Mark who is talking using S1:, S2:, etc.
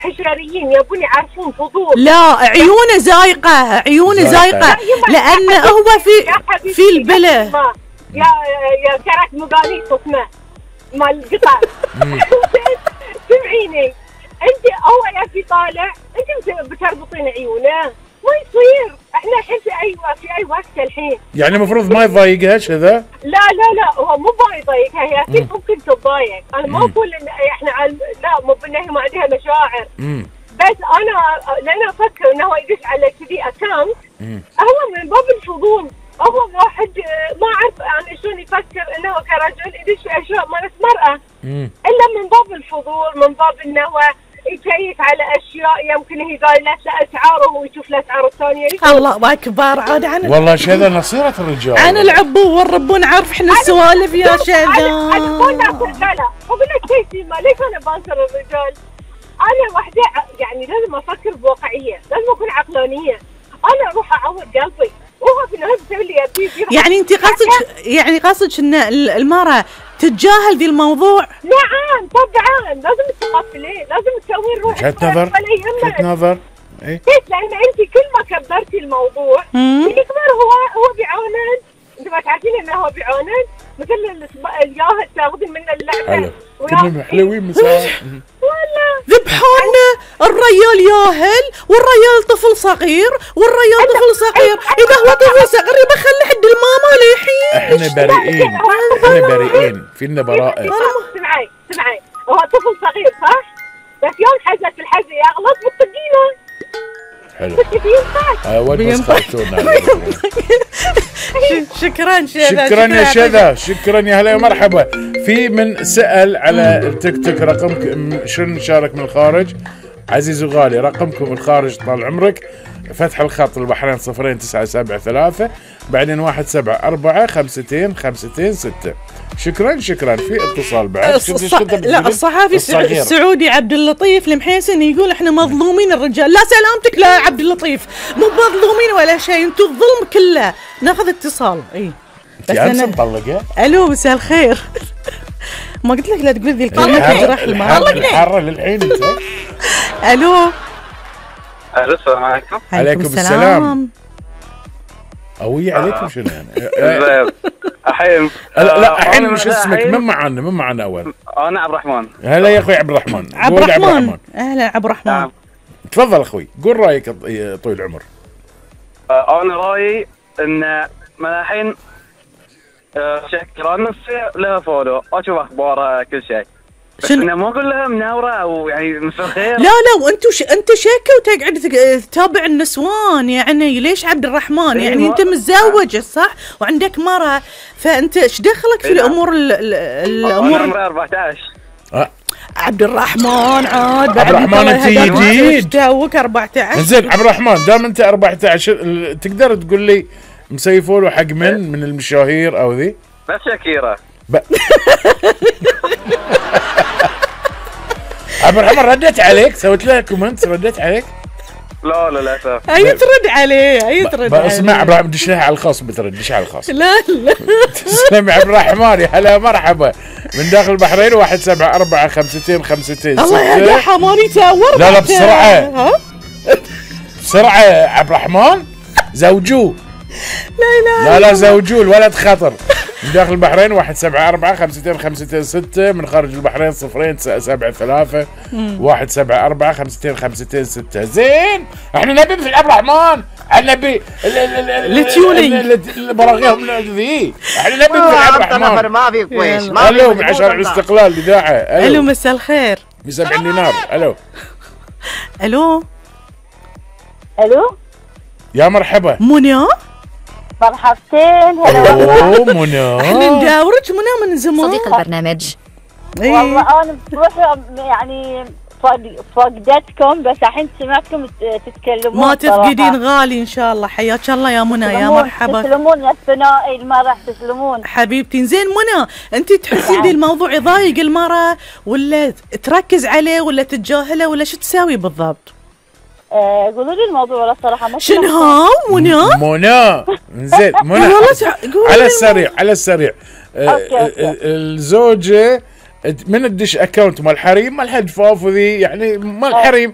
S1: حشريين يبون يعرفون فضول.
S2: لا عيونه زايقة، عيونه زايقة لأن هو في البله.
S1: يا كرك مقاليس اسمه مال القطع. سمعيني انت هو يا في طالع انت بتربطين عيونه، ما يصير. احنا الحين في اي وقت الحين.
S3: يعني المفروض ما يضايقها كذا؟
S1: لا هو مو يضايقها، هي اكيد ممكن تتضايق. انا ما اقول ان احنا لا مو بان هي ما عندها مشاعر. بس انا لان افكر انه هو يدش على كذي اكونت، هو من باب الفضول. هو واحد ما اعرف يعني شلون يفكر انه كرجل يدش في اشياء مالت مرأة، الا من باب الفضول، من باب انه يكيف على اشياء يمكن هي قايلت له اسعاره ويشوف الاسعار الثانيه.
S2: الله اكبر. عاد عن
S3: والله شذا نصيرة الرجال،
S2: عن العبو والربون عارف احنا السوالف يا شذا.
S1: انا مو ناصر رجاله، اقول لك شيء ما ليش انا بانصر الرجال. انا وحده يعني لازم افكر بواقعيه، لازم اكون عقلانيه. انا اروح اعور قلبي وهو في النهايه بيسوي لي يبي.
S2: يعني انت قصدك ان المراه تتجاهل ذي الموضوع؟
S1: نعم طبعا لازم تقفلين، لازم تسوين روحك
S3: وجهة نظر.
S1: ايه لان انت كل ما كبرتي الموضوع يكبر. هو بيعاند. انت ما تعرفين انه هو بيعاند مثل الياهل تاخذين منه اللعبه.
S3: كلهم حلوين مساء.
S1: والله
S2: ذبحونا. الريال ياهل والريال طفل صغير والريال طفل صغير. اذا هو طفل صغير يبقى خلي حد الماما للحين.
S3: احنا بريئين فينا براءة.
S1: سمعي هو طفل صغير صح؟ بس يوم حزت الحزة يغلط بالطقينة.
S3: حلو.
S1: بينفع.
S2: شكرا
S3: يا شذا، شكرا يا هلا ومرحبا. في من سأل على التيك توك رقمكم شنو نشارك من الخارج. عزيز وغالي رقمكم الخارج طال عمرك، فتح الخط البحرين 0973 بعدين 174-52-52-6. شكرا في اتصال بعد.
S2: لا الصحافي السعودي عبد اللطيف المحيسن يقول احنا مظلومين الرجال. لا سلامتك لا عبد اللطيف، مو مظلومين ولا شيء، انتم الظلم كله. ناخذ اتصال. اي
S3: بس انا مطلقه.
S2: الو مساء الخير. ما قلت لك لا تقول ذي الكلمه تجرح
S3: الحاره للعين انت.
S2: الو
S4: السلام عليكم.
S3: عليكم السلام. قوية عليكم شنو يعني؟
S4: الحين
S3: لا الحين مش اسمك؟ من معنا اول؟
S4: انا عبد الرحمن.
S3: هلا يا اخوي عبد الرحمن.
S2: اهلا عبد الرحمن.
S4: نعم.
S3: تفضل اخوي قول رايك طويل العمر.
S4: انا رايي ان من الحين شكرا نفسي لها فولو اشوف اخبارها كل شيء، بس انا ما اقول لها مناوره او يعني مساء الخير.
S2: لا انت شيكه وتقعد تتابع النسوان. يعني ليش عبد الرحمن؟ يعني انت متزوج صح وعندك مرة، فانت ايش دخلك في الامور
S4: الامور؟ عمري 14.
S2: عبد الرحمن عاد
S3: عبد الرحمن انت جديد
S2: توك 14.
S3: زين عبد الرحمن دام انت 14 تقدر تقول لي مسيفوا له حق من المشاهير او ذي؟
S4: بس شاكيرة.
S3: عبد الرحمن ردت عليك؟ سويت لها كومنت ردت عليك؟
S4: لا للاسف.
S2: هي ترد عليه
S3: اسمع عبد الرحمن دش لها على الخاص. بتردش على الخاص.
S2: لا
S3: تسلم عبد الرحمن يا هلا مرحبا من داخل البحرين 174-52-52-6.
S2: الله يا حماني تاور.
S3: لا بسرعة عبد الرحمن زوجوه. لا زوجوه الولد خطر. من داخل البحرين 174-52-52-6 من خارج البحرين 0-973 174-52-52-6. زين احنا نبي مثل عبد الرحمن، احنا نبي البراغيهم ذي، احنا نبي مثل عبد الرحمن.
S5: ما في كويس.
S3: الو من عشان الاستقلال الاذاعه.
S2: الو مساء الخير.
S3: ب70 دينار.
S2: الو
S3: يا مرحبا.
S2: منى
S1: مرحبتين.
S3: اوه منى
S2: احنا نداورك منى من زمان
S6: صديق البرنامج.
S1: والله انا بروح يعني فقدتكم، بس الحين سمعتكم تتكلمون.
S2: ما تفقدين غالي ان شاء الله. حياك الله يا منى يا مرحبا.
S1: تسلمون يا الثنائي المرح تسلمون
S2: حبيبتي. زين منى انت تحسين ذي الموضوع يضايق المرأة ولا تركز عليه ولا تتجاهله ولا شو تساوي بالضبط؟
S1: قولوا لي الموضوع ولا صراحه ما
S2: شنو ها
S3: منى. زين منى على السريع الزوجة من الدش اكونت مال حريم مال حد فوف وذي يعني مال حريم